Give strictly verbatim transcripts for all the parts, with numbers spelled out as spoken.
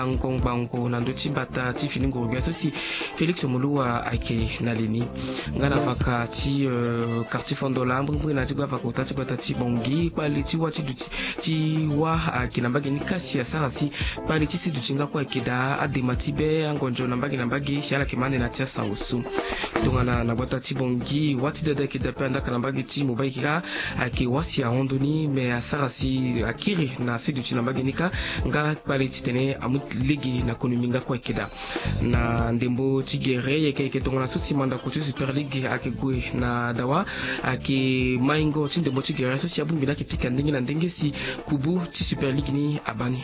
Ngongbangbo na ndö ti mbata ti fini nguru-gbia so si Félix Moloua ayeke na li ni. Nga na vaka ti, euh, quartier Fondola, mbirimbiri na ti gba vaka ota ti gbata ti Bangui, kpale ti wâ ti duti ti wâ ayeke na mbage ni kasi asara si kpale ti se duti nga kue ayeke daa, adema ti be, angonzo na mbage na mbage si ala yeke ma ande na ti asango so. Tongana na gbata ti Bangui, wâ ti dada ayeke daa pe andaka na mbage ti Mobaï kâ ayeke wâ si ahon ndö ni, me asara si akiri na se duti na mbage ni kâ, nga kpale titene amu lege na konomi nga kue ayeke daa. Na ndembo ti gere, yeke yeke tongana so si mandako ti Super League ayeke gue na dawa, ayeke maingo ti ndembo ti gere so si abongbi ni ayeke pika ndenge na ndenge si kubu ti Super League ni abaa ni.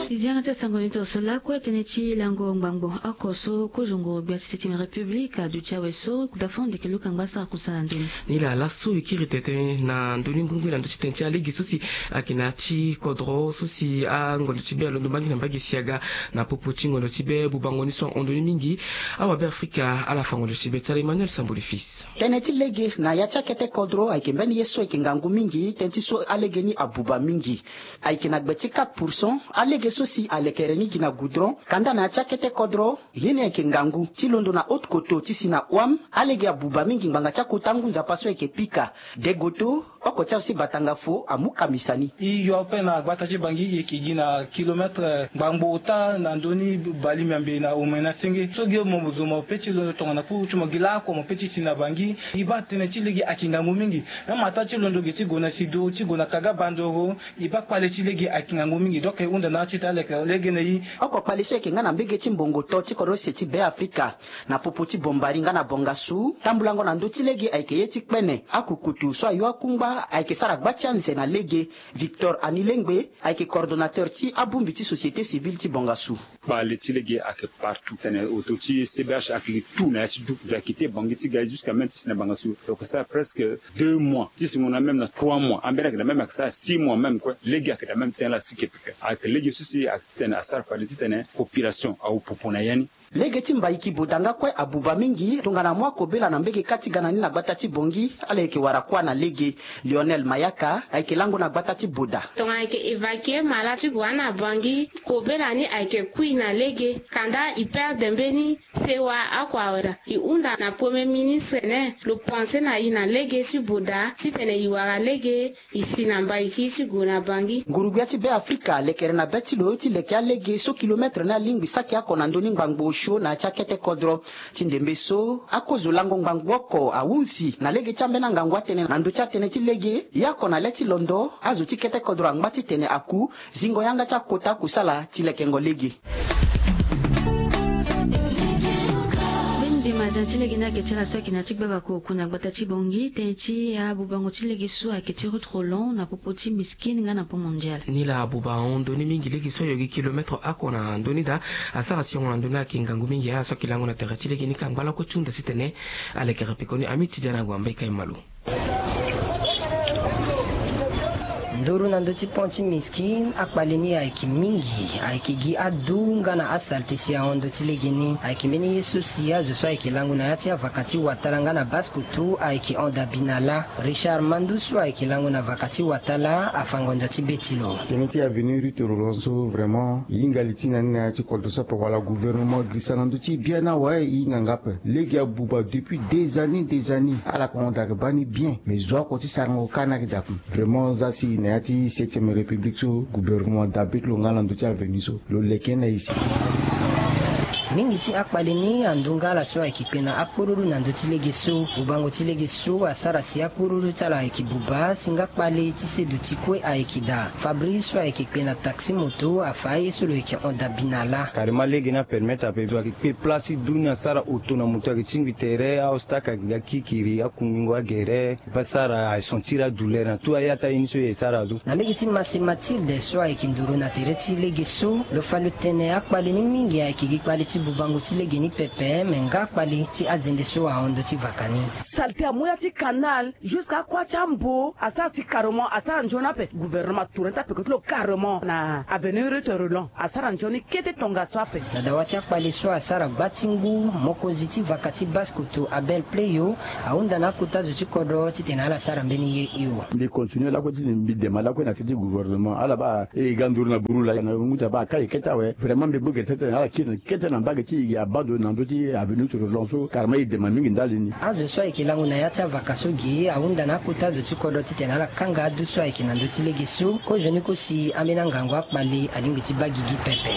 Ti zianga ti asango ni tongaso lakue tënë ti lango ngbangbo oko so kozo nguru-gbia ti septième république aduti awe so kudafo ndeke luka ngbasa kusala ndoni. Ni laa laso e kiri tene na ndö ni mbirimbiri na ndö ti tënë ti alege so si ayeke na ya ti kodro so si angonzo ti be alondo mbage na mbage si aga na popo ti ngonzo ti be, bubango ni so ahon ndoni mingi. Awabe afrika ala fa ngonzo ti be ti ala Emmanuel Samboli fils. Tënë ti lege na ya ti akete kodro ayeke mbeni ye so ayeke ngangu mingi, tënë ti so alege ni abuba mingi. Ayeke na gbe ti quatre pour cent alege so si alekere ni gi na goudron. Kanda na ya ti akete kodro, ye ni ayeke ngangu ti londo na haute koto ti si na wam, alege abuba mingi ngbanga ti akota ngu nzapa so ayeke pika. Degoto, oko ti azo ti batanga fo amu kamisa ni. E yo ape na gbata ti Bangui, e yeke gi na kilomètre ngbangbo ota na ndö ni bali miambe na omena senge. So gi mo zo mo pe ti londo tongana kuru ti mo gi laoko mo pe ti si na Bangui. E baa tënë ti lege ayeke ngangu mingi. Même ata ti londo ge ti gue na sido, ti gue na kaga bandoro, e baa kpale ti lege ayeke ngangu mingi. Donc e hunda na ya ti ita aleke lege na e. Oko kpale so ayeke nga na mbege ti mbongo to ti kodro use ti Be Afrika. Na popo ti Bombari nga na Bongasu, tambulango na ndö ti lege ayeke ye ti kpene. Akukutu so ayo akungba ayeke sara gba ti anze na lege. Victor Anilengbe ayeke coordonnateur ti abongbi ti société civile ti Bongasu. Kpale ti lege ayeke partout. Tene auto ti C B H ayeke gi tout na ya ti du. Ayeke kite Bangui ti ga jusqu'à même ti si na Bangassou. Donc ça presque deux mois. Ti si mo na même na trois mois. Ambeni ayeke na même ayeke sara six mois même kue. Lege ayeke na même ti ala si ke peke. Ayeke lege so si ayeke titene asara kpale titene population awu popo na ya ni. Lege ti mbaiki boda nga kue abuba mingi tongana mo akobela na mbege kâ ti ga na ni na gbata ti Bangui. Ala yeke wara kuâ na lege. Lionel Mayaka ayeke lango na gbata ti Boda. Tongana ayeke évacuer mala ti gue na Bangui, kobela ni ayeke kui na lege. Kanda e perdre mbeni sewa oko awe daa. E hunda na Premier ministre ne lo pense na e na lege ti Boda titene e wara lege e si na mbaiki ti gue na Bangui. Nguru-gbia ti Be Afrika lekere na be ti lo ti leke alege so kilomètre ni alingbi saki oko na ndö ni ngbangbo osio na ya ti akete kodro. Ti ndembe so, akozo lango ngbangbo oko ahunzi na lege ti ambeni angangu atënë na ndö ti atënë ti lege. Ye oko na le ti londo, azo ti kete kodro angba titene aku, zingo yanga ti akota kusala ti lekengo lege. Mbeni nde maza ti lege ni ayeke ti ala so ayeke na ya ti gbavaka oku na gbata ti Bangui, tënë ti abubango ti lege so ayeke ti Ruth Roland na popo ti Miskine nga na Pont Mondial. Ni laa abuba ahon ndö ni mingi lege so ayo gi kilomètre oko na ndö ni daa. Asara siongo na ndö ni ayeke ngangu mingi, ala so ayeke lango na tere ti lege ni ka angba lakue ti hunda titene alekere pekoni. Ami ti dia na ague ambai kai malo. Nduru na ndö ti pont ti Miskine, akpale ni ayeke mingi, ayeke gi adu nga na asalte si ahon ndö ti lege ni. Ayeke mbeni ye so si azo so ayeke lango na ya ti avaka ti watala nga na Basse Kotto ayeke hon dabi na lâ. Richard Mandou so ayeke lango na vaka ti watala afa ngonzo ti be ti lo. Tënë ti avenue Ruth Roland so vraiment e hinga li ti na ni na ya ti kodro so ape wala gouvernement girisa na ndö ti e biani awe, e hinga nga ape. Lege abuba depuis des années, des années. Ala yeke hon daa ayeke baa ni bien. Mais zo oko ti sarango kâ ni ayeke daa ape. Vraiment za si na ya ti septième république so gouvernement dabe ti lo nga na ndö ti avenue so. Lo leke na e si. Mingi ti akpale ni andu nga ala so ayeke kpe na akporuru na ndö ti lege so. Bubango ti lege so asara si akporuru ti ala ayeke buba si nga kpale ti se duti kue ayeke daa. Fabrice so ayeke kpe na taxi moto afa aye so lo yeke hon dabi na lâ. Carrément lege ni apermettre ape zo ayeke kpe place ti du ni asara oto na moto ayeke tingbi tere, aostak ayeke ga kikiri, akungingo agere. Ba sara aye sentir adouleur na tout aye ata ye ni so e sara azo. Na mbege ti Mase Mathilde so ayeke nduru na tere ti lege so, lo fa lo tene akpale ni mingi ayeke gi kpale ti Bubango ti lege ni pepe me nga kpale ti azende so ahon ndö ti vaka ni. Salte amu ya ti canal jusqu'à akua ti ambo asara si carrement asara nzoni ape. Gouvernement atourner ti apeko ti lo carrement na avenue Ruth Roland asara nzoni kete tongaso ape. Na dawa ti akpale so asara gba ti ngu, mokonzi ti vaka ti Basse-Kotto Abel Pleyo ahunda na akota zo ti kodro titene ala sara mbeni ye hio. Mbi continue lakue titene mbi dema lakue na teti gouvernement ala baa e ga nduru na buru laa na ngu ti abaa akai kete awe. Vraiment mbi bogere titene ala kiri kete na mbage ti e gi abando na ndö ti avenue Ruth Roland so carrement e dema mingi ndali ni. Azo so ayeke lango na ya ti avaka so ge ahunda na akota zo ti kodro titene ala kanga adu so ayeke na ndö ti lege so. Kozoni kosi ambeni angangu akpale alingbi ti baa gigi pepe.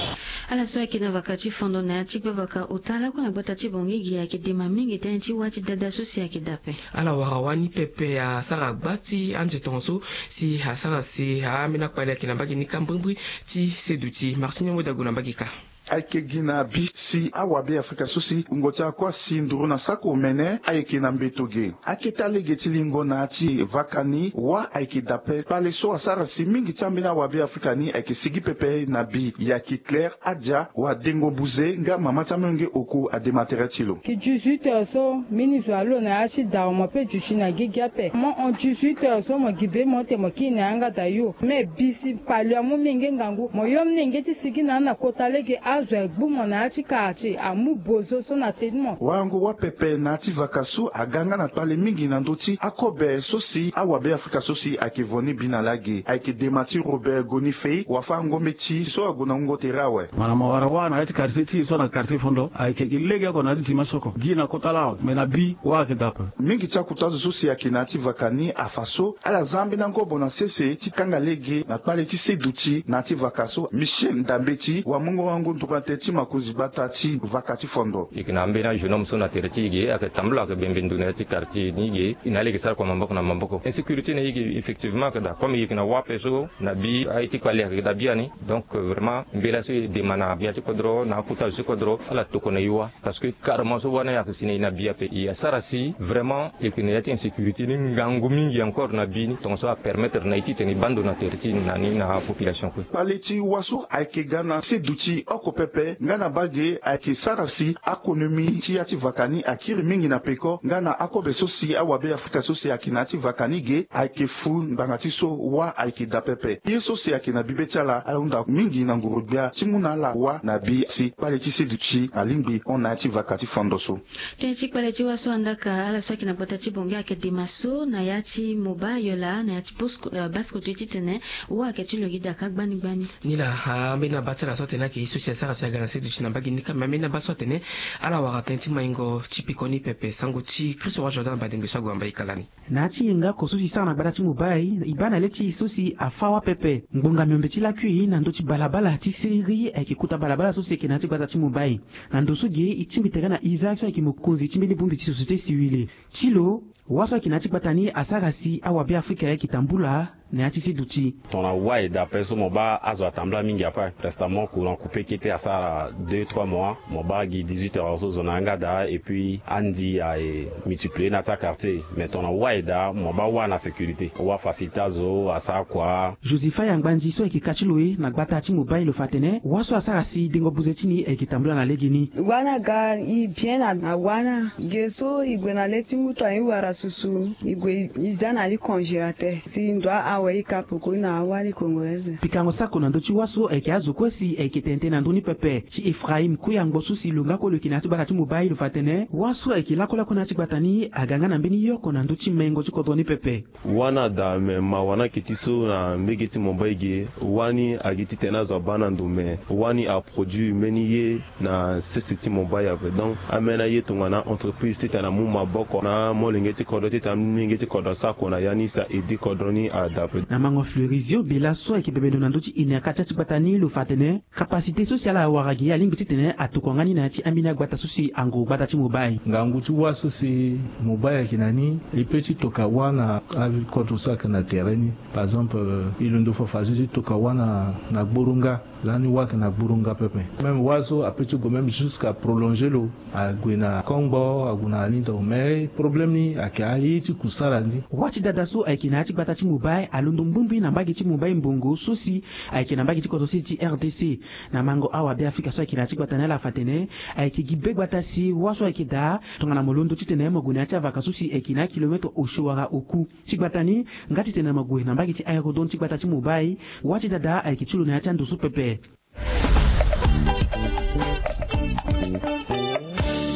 Ala so ayeke na vaka ti fondo na ya ti gbavaka ota lakue na gbata ti Bangui ge ayeke dema mingi tënë ti wâ ti dada so si ayeke daa ape. Ala wara wâ ni pepe asara gba ti anze tongaso si asara si ambeni akpale ayeke na mbage ni ka mbrimbri ti seduti. Martinho Modago na mbage ka. Ayeke gi na bi si awabe afrika so si wungo ti akua si nduru na sako omene ayeke na mbeto ge. Akete alege ti lingo na ya ti vaka ni wâ ayeke daa ape. Kpale so asara si mingi ti ambeni awabe afrika ni ayeke sigi pepe na bi. Yaki Claire Adia wa dengo buze nga mama ti amolenge oko adema tere ti lo. Gi dix-huit heures so mbeni zo alo na ya ti dara mo pe duti na gigi ape. Mo hon dix-huit heures so mo gi be mo ete mo kiri na yanga daa yo. Me bi si kpale amu mingi ngangu mo yo mingi ti sigi na ni na kota lege azo agbu mo na ya ti quartier amu bozo so na teni mo. Warango wâ pepe na ya ti vaka so aga nga na kpale mingi na ndö ti akobe so si awabe afrika so si ayeke vo ni bi na lage. Ayeke dema ti Robert Gonifei wa fâ ngombe ti so ague na wungo tere awe. Mo na mo wara wâ na ya ti quartier ti e so na quartier fondo ayeke gi legeoko na ya ti dimanche oko gi na kota laa awe me na bi wâ ayeke daa ape. Mingi ti akota zo so si ayeke na ya ti vaka ni afa so ala za ambeni angobo na sese ti kanga lege na kpale ti seduti na ya ti vaka so. Michel Ndambeti wa mungo wango nduru na tënë ti makonzi gbata ti vaka ti fondo. E yeke na ambeni ajeune homme so na tere ti e ge ayeke tambula ayeke bembe ndo na ya ti quartier ni ge. E na ala yeke sara kua maboko na maboko. Insécurité na e ge effectivement ayeke daa comme e yeke na wâ ape so na bi aye ti kpale ayeke daa biani. Donc vraiment mbela so e dema na ya ti kodro na akota zo ti kodro ala tokua na e wâ. Parce que carrément so wâ ni ayeke si na e na bi ape e asara si vraiment e yeke na ya ti insécurité ni ngangu mingi encore na bi ni tongaso apermettre na e titene e baa ndo na tere ti e na ni na apopulation kue. Kpale ti wâ so ayeke ga na seduti oko pepe nga na bage ayeke sara si akonomi ti ya ti vaka ni akiri mingi na peko nga na akobe so si awabe afrika so si ayeke na ya ti vaka ni ge ayeke fu ngbanga ti so wâ ayeke daa pepe. Ye so si ayeke na bi be ti ala ala hunda mingi na nguru-gbia ti mu na ala wâ na bi si kpale ti seduti alingbi hon na ya ti vaka ti fondo so. Tënë ti kpale ti wâ so andaka ala so ayeke na gbata ti Bangui ayeke dema so na ya ti Moba Yola na ya ti Basse-Kotto titene wâ ayeke ti lo gi daa ka gbani gbani. Ni laa ambeni abaa ti ala so atene ayeke ye so si asara si aga na seduti na mbage ni ka me ambeni abaa so atene ala wara tënë ti maingo ti peko ni pepe. Sango ti Christ Roi Jordan Badengbe so ague na mbage ka lani. Na ya ti yenga oko so si sara na gbata ti Moba e baa na le ti e so si afâ wâ pepe. Ngbonga miombe ti lakui na ndö ti balabala ti seri ayeke kota balabala so si ayeke na ya ti gbata ti Moba e. Na ndo so ge e tingbi tere na Isaac so ayeke mokonzi ti mbeni bongbi ti société civile. Ti lo wâ so ayeke na ya ti gbata ni asara si awabe afrika ayeke tambula na ya ti seduti. Tongana wâ e daa ape so mo baa azo atambula mingi ape. Prestamment courant coupé kete asara deux trois mois. Mo baa gi dix-huit heures so zo na yanga daa et puis andi aye multiplier na ya ti aquartier. Mais tongana wâ e daa mo baa wâ na sécurité wâ afacilité azo asara kua. Josepha Yangbanzi so ayeke ka ti lo e na gbata ti Moba e lo fa atene wâ so asara si dengo buze ti ni ayeke tambula na legeni. Wâ ni aga e bien na wâ ni. Ge so e gue na le ti ngutu aye wara susu e gue e za na li congélateur si ndo awe e ka peko na awali congolaise. Pikango sako na ndö ti wâ so ayeke azo kue si ayeke tene tënë na ndö ni pepe ti Ephraïm Kuyangbo so si lo nga kue lo yeke na ya ti gbata ti Moba e lo fa atene wâ so ayeke lakue lakue na ya ti gbata ni aga nga na mbeni yoko na ndö ti mengo ti kodro ni pepe. Wâ ni ada me mawa ni ayeke ti so na mbege ti Moba e ge. Wâ ni agi titene azo abaa na ndo me wâ ni aproduire mbeni ye na sese ti Moba e ape. Donc ambeni aye tongana entreprise titene amu maboko na amolenge ti kodro titene amolenge ti kodro asara kua na ya ni si a aider kodro ni ada ape. Na mango Fleurizio Bela so ayeke bebe ndo na ndö ti ene aka ti ya ti gbata ni lo fa atene capacité so si ala awara gi alingbi titene atokua nga ni na ya ti ambeni agbata so si anguru gbata ti Moba e. Ngangu ti wâ so si Moba e ayeke na ni e peut ti toka wâ na akodro so ayeke na tere ni. Par exemple e londo fafa so ti toka wâ na gboronga. Lani wâ ayeke na gboronga pepe. Même wâ so apeut ti gue même jusqu'à prolonger lo ague na kongbo ague na alindro mais problème ni. Ka ye ti kusala ndi. Wâ ti dada so ayeke na yâ ti gbata ti Mumbai alondo mbumbui na mbage ti Mumbai mbongo so si ayeke na mbage ti kodro sese ti R D C. Na mango awa Beafrika so ayeke na yâ ti gbata ni ala fa atene ayeke gi be gbata si wâ so ayeke daa tongana mo londo titene mo gue na yâ ti avaka so si ayeke na yâ kilometre osio wala oku. Ti gbata ni nga titene mo gue na mbage ti aérodrome ti gbata ti Mumbai. Wâ ti dada ayeke ti lo na yâ ti ando so pepe.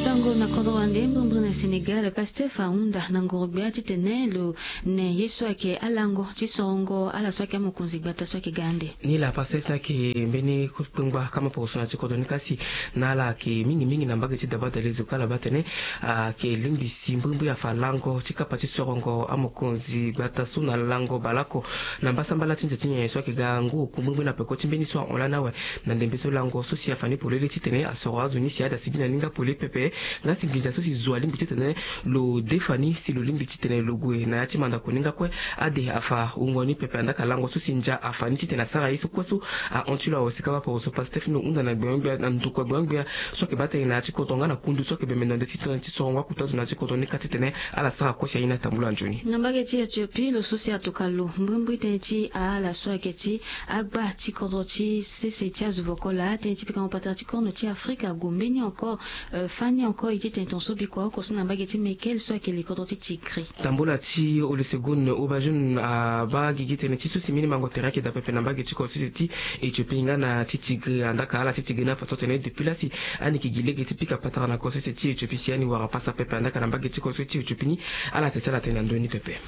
Sango na kodro wande mbrimbri na Sénégal, Pastef ahunda na ngoro-gbia titene lo ne ye so ayeke alango ti sorongo ala so ayeke amokonzi gbata so ayeke ga ande. Ni laa Pastef ni ayeke mbeni kpengba kama poroso na ti kodro ni kasi na ala ayeke mingi mingi na mbage ti Daba Dalezo ka ala baa atene ayeke lingbi si mbrimbri afa lango ti kapa ti sorongo amokonzi gbata so na lango baleoko na mbasambala ti nze ti nyen so ayeke ga ngu oku mbrimbri na peko ti mbeni so ahon lani awe. Na ndembe so lango so si afa ni polele titene asoro azo ni si ada sigi na ni nga polele pepe. Nga si nginza so si zo alingbi titene lo defa ni si lo lingbi titene lo gue na yâ ti mandako ni nga kue. Ade afa wungo ni pepe andaa ka lango so si ndia afa ni titene asara ye so kue so ahon ti lo awe. Si kapa poroso Pastef ni lo hunda na gbenyo-gbia na ndokua gbenyo-gbia so ayeke baa tënë na yâ ti kodro nga na kundu so ayeke bembe na nde ti tënë ti sorongo akuta zo na yâ ti kodro ni ka titene ala sara kue si aye ni atambula nzoni. Na mbage ti Éthiopie lo so si atoka lo mbrimbri tënë ti ala so ayeke ti agba ti kodro ti sese ti azo vokola tënë ti pikango patara ti korno ti Afrika ague mbeni encore, euh, fani encore ye ti tene tongaso bikua oko so na mbage ti Mekelle so ayeke li kodro ti Tigré. Tambula ti Olusegun Obajoun abaa gigi tënë ti so si mbeni mango tere ayeke daa pepe na mbage ti kodro sese ti Éthiopie nga na ti Tigré andaa ka ala ti Tigré ni afa so atene depuis laa si ani yeke gi lege ti pika patara na kodro sese ti Éthiopie si ani wara pasa pepe andaa ka na mbage ti kodro sese ti Éthiopie ni. Ala tene ti ala tene na ndö ni pepe.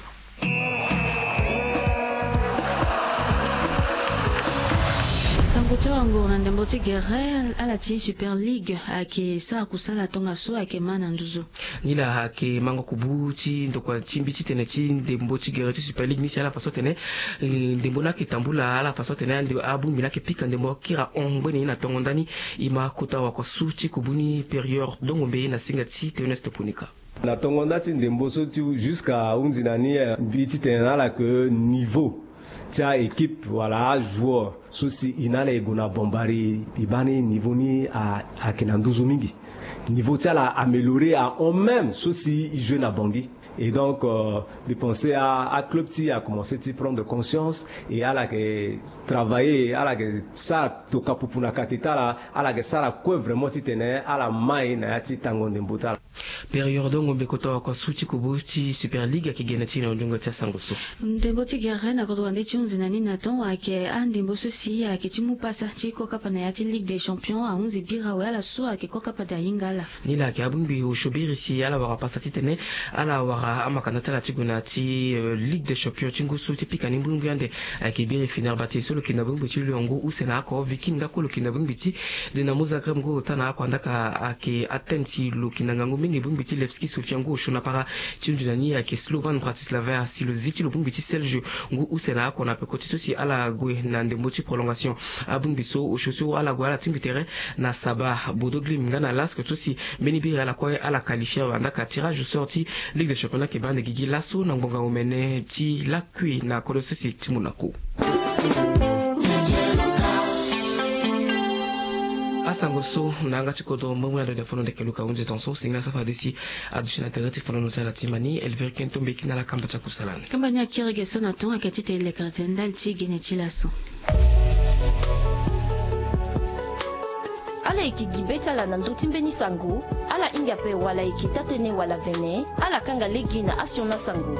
Sango ti awanguru na ndembo ti gere, ala ti Super League ayeke sara kusala tongaso ayeke ma na nduzu. Ni laa ayeke mango kubu ti ndokua ti mbi titene ti ndembo ti gere ti Super League ni si ala fa so atene, eh, ndembo ni ayeke tambula ala fa so atene ande abongbi ni ayeke pika ndembo kiri ahon ngbene ni na tongo ndani. E ma kota wakuasu ti kubu ni Période Dongombe na singa ti Théoneste Ponika. Na tongo nda ti ndembo so ti jusqu'à hunzi na ni, eh, mbi titene na ala ke niveau ti a-équipe wala ajoueur so si e na ala e gue na Bambari, e baa ni niveau ni a, ayeke na nduzu mingi. Niveau ti ala a amélioré ahon même so si e joué na Bangui. Et donc, euh, mbi pensé a, aclub ti e a commencé ti prendre conscience et ala yeke travailler, ala yeke sara toka pupu na kate ti ala, ala yeke sara kue vraiment titene ala mai na ya ti tango ndembo ti ala. Période Dongombe kota wakuasu ti kubu ti Super League ayeke gene ti e na nzongo ti asango so. Ndembo ti gere na kodro wande ti hunzi na ni na tongo ayeke andembo so si ayeke ti mu pasa ti ko kapa na ya ti Ligue des Champions ahunzi bira awe ala so ayeke ko kapa daa ahinga ala. Ni laa ayeke abongbi osio biri si ala wara pasa titene ala wara amakanda ti ala ti gue na ya ti, euh, Ligue des Champions ti ngu so ti pika ni mbrimbri ande. Ayeke biri Fenerbahçe so lo yeke na bongbi ti Lyon ngu use na oko, Viking nga kue lo yeke na bongbi ti Dinamo Zagreb ngu ota na oko andaa ka ayeke Athènes si lo yeke na ngangu mingi bongbi ti Levski Sofia ngu osio na para. Ti hunzi na ni ayeke Slovan Bratislava si lo zi ti lo bongbi ti Celje ngu use na oko na peko ti so si ala gue na ndembo ti prolongation. Abongbi so osio so ala gue ala tingbi tere na Saba, Bodo Glimt nga na Lask so si mbeni biri ala kue ala qualifié awe andaa ka tirage au sort ti Ligue des Champions ayeke baa ande gigi laso na ngbonga omene ti lakui na kodro sese ti Monaco. Asango so na yanga ti kodro mbrimbri ando na fono ndeke Luka ahunzi tongaso. Singila so fade si aduti na tere ti fonono ti ala ti mani, Elvire Kento Mbeki na ala kamba ti akusala ni. Kamba ni akiri ge so na tonga ayeke ti tene lekere tene ndali ti gene ti laso. Ala yeke gi be ti ala na ndö ti mbeni sango. Ala hinga ape wala e yeke taa-tënë wala vene, ala kanga lege na asioni asango.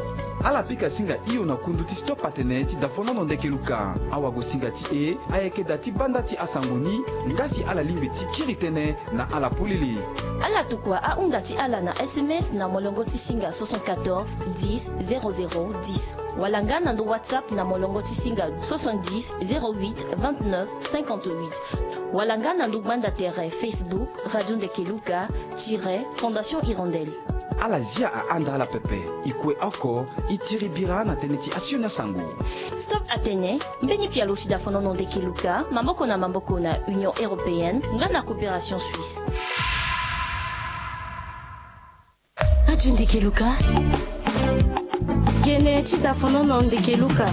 Ala pika singa hio na kundu ti Stop Atene ti dafonono ndeke Luka. Awagosinga ti e ayeke daa ti banda ti asango ni. Nga si ala lingbi ti kiri tënë na ala polele, ala tokua ahunda ti ala na S M S na molongo ti singa soixante-quatorze dix zéro zéro dix, wala nga na ndo WhatsApp na molongo ti singa soixante-dix zéro huit vingt-neuf cinquante-huit, wala nga na ndo gbanda tere Facebook Radio Ndeke Luka tiret Fondation Hirondelle. Ala zia ahanda ala pepe. E kue oko, e tiri bira na tënë ti asioni asango. Stop Atene, mbeni pialo ti dafonono ndeke Luka, maboko na maboko na Union Européenne nga na Coopération Suisse. Radio Ndeke Luka. Gene ti dafonono ndeke Luka.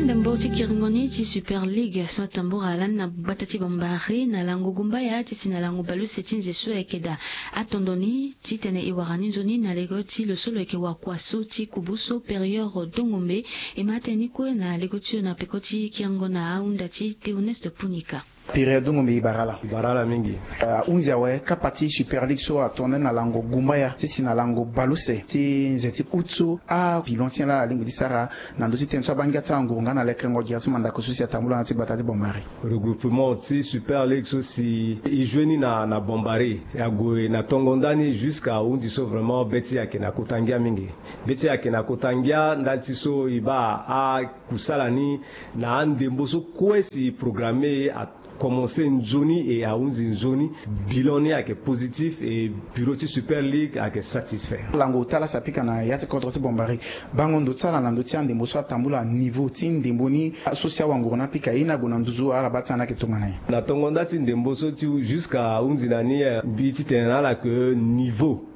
Ndembo ti kiringo ni ti Super League so atambula lani na gbata ti Bambari na lango gumbaya ti si na lango baluse ti nze so ayeke daa atondo ni titene e wara ni nzoni na lego ti lo so lo yeke wakua so ti kubu so Période Dongombe. E ma tene ni kue na lego ti lo na peko ti kiringo na ahunda ti Théoneste Punika. Période Dongombe, e bara ala. E bara ala mingi. Ahunzi awe kapa ti Super League so atonda ni na lango gumbaya ti si na lango baluse ti nze ti août so abilan ti nyen laa alingbi ti sara na ndö ti tënë so abaa ngia ti anguru nga na lekerengo gira ti mandako so si atambula na ti gbata ti Bambari. Regroupement ti Super League so si e joue ni na na Bambari, e ague na tongo ndani jusqu'à ahunzi so vraiment be ti e ayeke na kota ngia mingi. Be ti e ayeke na kota ngia ndali ti so e baa akusala ni na andembo so kue si e programme a commencé nzoni et ahunzi nzoni. Bilan ni ayeke positif et bureau ti Super League ayeke satisfait. Lango ota laa si apika na ya ti kodro ti Bambari, bango ndo ti ala na ndö ti andembo so atambula, niveau ti ndembo ni so si awanguru ni apika ye ni ague na nduzu, ala baa ti ala ni ayeke tongana nyen? Na tongo nda ti ndembo so ti jusqu'à ahunzi na ni, eh, mbi titene na ala ke niveau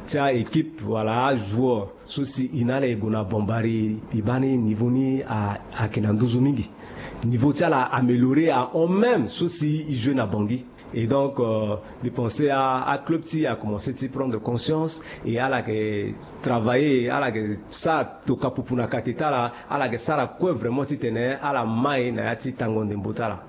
ti a-équipe wala ajoueur so si e na ala e gue na Bambari, e baa ni niveau ni a, ayeke na nduzu mingi. Niveau ti ala amélioré ahon même so si e joue na Bangui. Et donc, euh, mbi pensé a, aclub ti e akomense ti prendre conscience et ala yeke travailler, ala yeke sara toka pupu na kate ti ala, ala yeke sara kue vraiment titene ala mai na ya ti tango ndembo ti ala.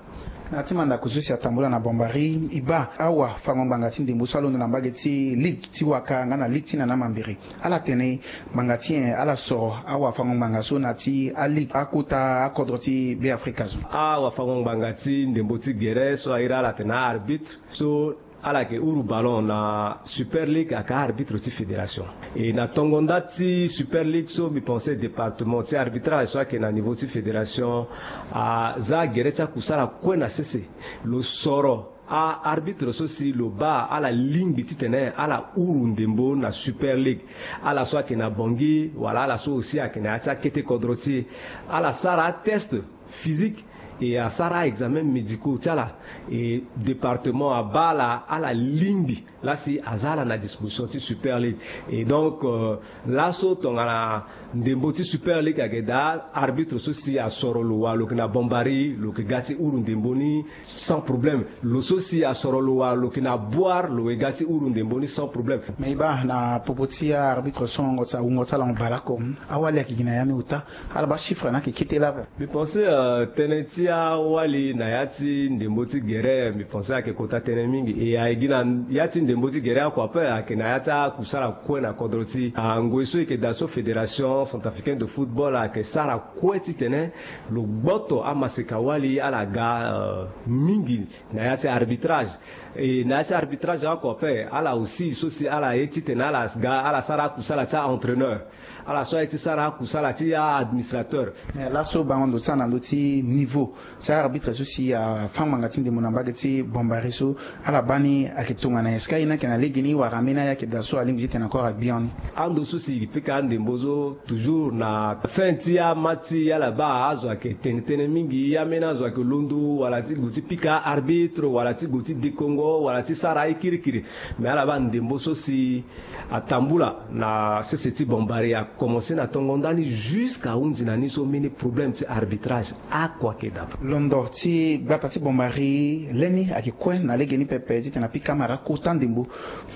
Na ya ti mandako so si atambula na Bambari, e baa awafango-ngbanga ti ndembo so alondo na mbage ti ligue ti waka nga na ligue ti nana mambiri, ala tene ngbanga ti nyen? Ala soro awafango-ngbanga so na ya ti aligue akota akodro ti Beafrika so. Awafango-ngbanga ti ndembo ti gere so airi ala atene a-arbitre so ala yeke huru ballon na Super League ayeke a-arbitre ti fédération. E na tongo nda ti Super League so mbi pensé département ti arbitrage so ayeke na niveau ti fédération aza gere ti akusala kue na sese. Lo soro a-arbitre so si lo baa ala lingbi titene ala huru ndembo na Super League. Ala so ayeke na Bangui wala ala so aussi ayeke na ya ti akete kodro ti e, ala sara atest physique et asara a-examen médicaux ti ala. Et département abaa ala, ala lingbi laa si aza ala na disposition ti Super League. Et donc, euh, laso tongana ndembo ti Super League ayeke daa, arbitre so si asoro lo wala lo yeke na Bambari, lo yeke ga ti huru ndembo ni sans problème. Lo so si asoro lo wala lo yeke na Bouar, lo yeke ga ti huru ndembo ni sans problème. Mais e baa na popo ti a-arbitre so wungo ti ala, wungo ti ala hon bale oko, awali ayeke gi na ya ni ota? Ala baa chiffre ni ayeke kete laa ape. Mbi pensé, euh, tënë ti awali na ya ti ndembo ti gere, mbi pensé ayeke kota tënë mingi. E ayeke gi na ya ti ndembo ti gere oko ape, ayeke na ya ti akusala kue na kodro ti e. Ah, ngoi so e yeke daa so Fédération Centrafricaine de Football ayeke sara kue titene lo gboto amaseka-wali ala ga, euh, mingi na ya ti arbitrage. E na ya ti arbitrage oko ape, ala aussi so si ala ye titene ala ga, ala sara akusala ti a-entraîneur. Ala so aye ti sara akusala ti a-administrateur. Mais laso bango ndo ti ala na ndö ti niveau ti a-arbitre so si afâ ngbanga ti ndembo na mbage ti Bambari so, ala baa ni ayeke tongana nyen? Est-ce que aye ni ayeke na legeni wala ambeni aye ayeke daa so alingbi titene encore agbian ni? Ando so si e pika andembo so toujours na fin ti amatch ti e, ala baa azo ayeke tene tënë mingi, ambeni azo ayeke londo wala ti gue ti pika arbitre wala ti gue ti dekongo wala ti sara aye kirikiri. Mais ala baa ndembo so si atambula na sese ti Bambari akomense na tongo ndani jusqu'à hunzi na ni so mbeni problème ti arbitrage oko ayeke daa. Londo ti gbata ti Bambari lani ayeke kue na legeni pepe titene apika amara kota ndembo.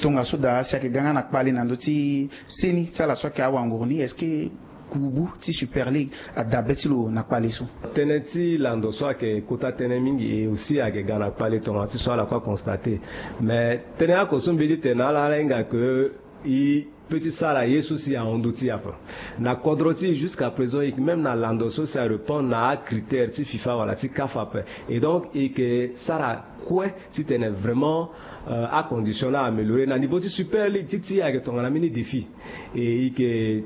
Tongaso daa si ayeke ga nga na kpale na ndö ti seni ti ala so ayeke awanguru ni, est-ce que kubu ti Super League ada be ti lo na kpale so? Tënë ti lando so ayeke kota tënë mingi, e aussi ayeke ga na kpale tongana ti so ala kue aconstaté. Mais tënë oko so mbi ye ti tene na ala, ala hinga ke e peut ti sara ye so si ahon ndö ti e ape. Na kodro ti e jusqu'à présent, e yeke même na lando so si arépondre na acritère ti FIFA wala ti CAF ape. Et donc e yeke sara kue titene vraiment, euh, acondition ni amélioré. Na niveau ti Super League ti e ayeke tongana mbeni défi. E e yeke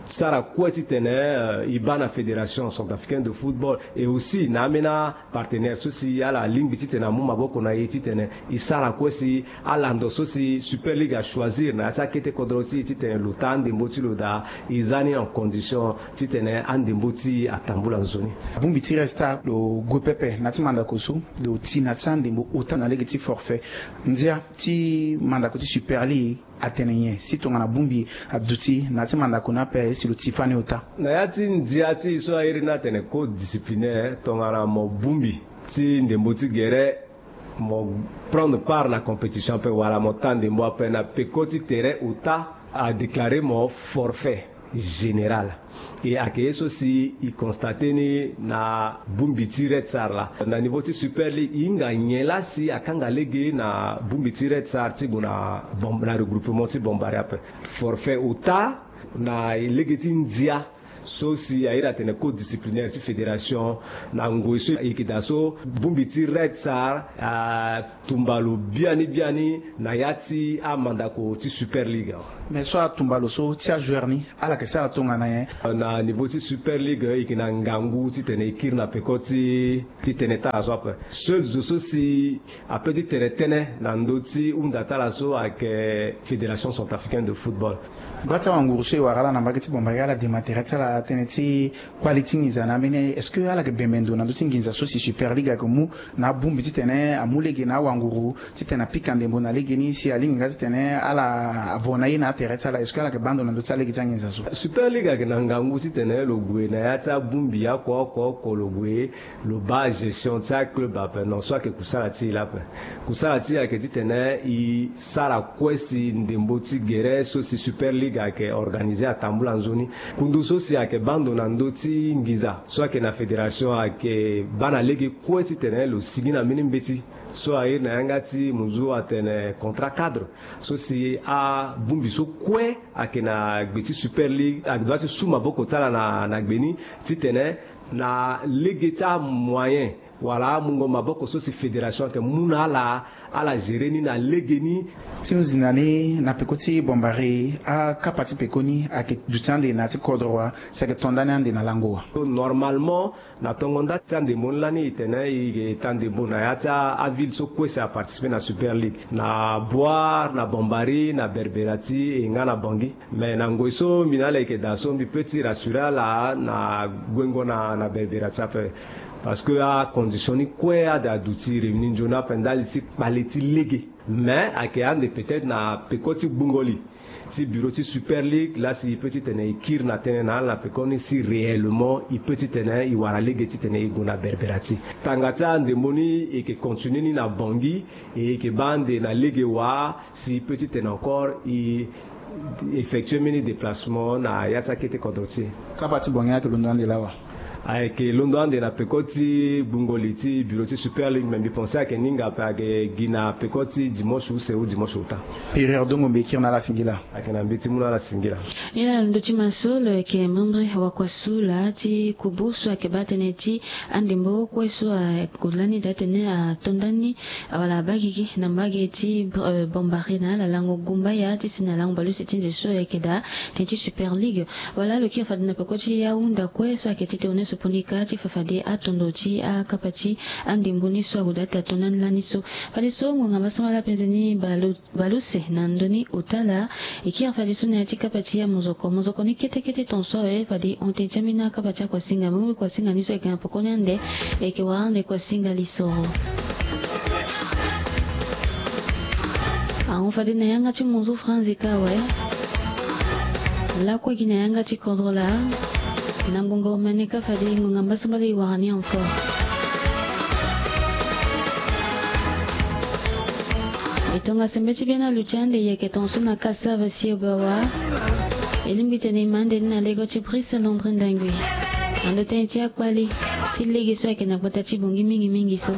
sara kue titene, euh, e baa na Fédération Centrafricaine de Football et aussi na ambeni apartenaire so si ala lingbi titene amu maboko na e titene e sara kue si alando so si Super League achoisir na ya ti akete kodro ti e titene lo taa andembo ti lo daa, e za ni en condition titene andembo ti e atambula nzoni. Abongbi ti resta lo gue pepe na ya ti mandako so lo ti na ya ti andembo ota na lege ti forfait. Ndia ti mandako ti Super League Atene nyen si tongana bongbi aduti na ya ti mandako ni ape si lo ti fani ota? Na ya ti ndia ti e so a iri ni atene code disciplinaire, tongana mo bongbi ti ndembo ti gere, mo prendre part na compétition ape wala mo ta ndembo ape, na peko ti tere ota, a déclarer mo forfait général. E ayeke ye so si e constate ni na bongbi ti Red Star laa. Na niveau ti Super League, e hinga nyen laa si akanga lege na bongbi ti Red Star ti gue na bom-, na regroupement ti Bombari ape? Forfait ota na lege ti ndia so si a iri atene code disciplinaire ti fédération. Na ngoi so e yeke daa so, bongbi ti Red Star atumba lo biani biani na ya ti amandako ti Super League awe. Mais so atumba lo so, ti ajoueur ni, ala yeke sara tongana nyen? Na niveau ti Super League, e yeke na ngangu titene e kiri na peko ti, ti tënë ti ala so ape. Seul zo so si apeut ti tene tënë na ndö ti hunda ti ala so ayeke Fédération Centrafricaine de Football. Gba ti awanguru so e wara ala na mbage ti Bombari, ala dema tere ti ala tënë ti kpali ti nginza na ambeni. Est-ce que ala yeke bembe ndo na ndö ti nginza so si Super League ayeke mu na abongbi titene amu lege na awanguru titene apika ndembo na lege ni si alingbi nga titene ala vo na ye na atere ti ala? Est-ce que ala yeke baa ndo na ndö ti alege ti anginza so? Super League ayeke na ngangu titene lo gue na ya ti abongbi oko oko oko, lo gue lo baa gestion ti aclub ape. Non, so ayeke kusala ti e laa ape. Kusala ti e ayeke titene e sara kue si ndembo ti gere so si Super League ayeke organiser atambula nzoni. Kundu so si ayeke baa ndo na ndö ti nginza so ayeke na fédération ayeke baa na lege kue titene lo sigi na mbeni mbeti so a iri na yanga ti munzu atene contrat cadre, so si abongbi so kue ayeke na gbe ti Super League ayeke dua ti su maboko ti ala na, na gbe ni, titene na lege ti amoyen wala amungo maboko so si fédération ayeke mu na ala, ala gérer ni na lege ni. Ti hunda ni, na peko ti Bombari, akapa ti pekoni ayeke duti ande na ya ti kodro wa, si ayeke to ndani ande na lango wa? Normalement, na tongo nda ti andembo ni lani, e tene e yeke ta ndembo na ya ti a, aville so kue si aparticiper na Super League, na Bouar, na Bombari, na Berberati, e nga na Bangui. Mais na ngoi so mbi na ala yeke daa so, mbi peut ti rassurer ala na guengo na, na Berberati ape. Parce que acondition ni kue ade aduti réunir nzoni ape ndali ti kpale ti lege. Mais ayeke ande peut-être na peko ti gbungo li ti bureau ti Super League, laa si e peut titene e kiri na tënë na ala na pekoni si réellement e peut titene e wara lege titene e gue na Berberati. Tanga ti andembo ni e yeke continuer ni na Bangui, e yeke baa ande na lege wa si e peut titene encore e effectuer mbeni déplacement na ya ti akete kodro ti e. Kapa ti Bangui ayeke londo ande lawa? Ayeke londo ande na peko ti gbungo li ti bureau ti Super League, mais mbi pense ayeke ni nga ape, ayeke gi na peko ti dimanche use ou dimanche ota. Période dongo mbi kiri na ala singila. Ayeke na mbi ti mu na ala singila. Ni laa na ndö ti ma so lo yeke membre wakuasu laa ti kubu so ayeke baa tënë ti andembo kue so ague lani daa tënë ato ndani wala abaa gigi na mbage ti, eh, Bombari na ala lango gumbaya ti si na lango baleuse ti nze so ayeke daa tënë ti Super League. Wala lo kiri fade na peko ti ahunda kue so ayeke ti tene soponika ti fa fade atondo ti akapa ti andembo ni so ague daa ti ato ndani lani so. Fadeso ngonga mbasambala apenze ni baleuse na ndö ni ota laa e kiri fadeso na ya ti kapa ti amozoko. Mozoko ni kete kete ton so awe fade hon tene ti ambeni akapa ti akuasinga. Mbeni kuasinga ni so ayeke na peko ni ande, e yeke wara ande kuasinga lisoro. Ahon fade na yanga ti munzu franzi ka awe. Lakue gi na yanga ti kodro laa. Na ngbongo omene ka fade ngbonga mbasambala e wara ni encore. E tongasembe ti bena luti ande e yeke ton so na kasava si e bawa. E lingbi tene e ma ande ni na lego ti Brice Landry Ndangui. Na ndo tënë ti akpali ti lege so ayeke na gbata ti Bangui mingi mingi so.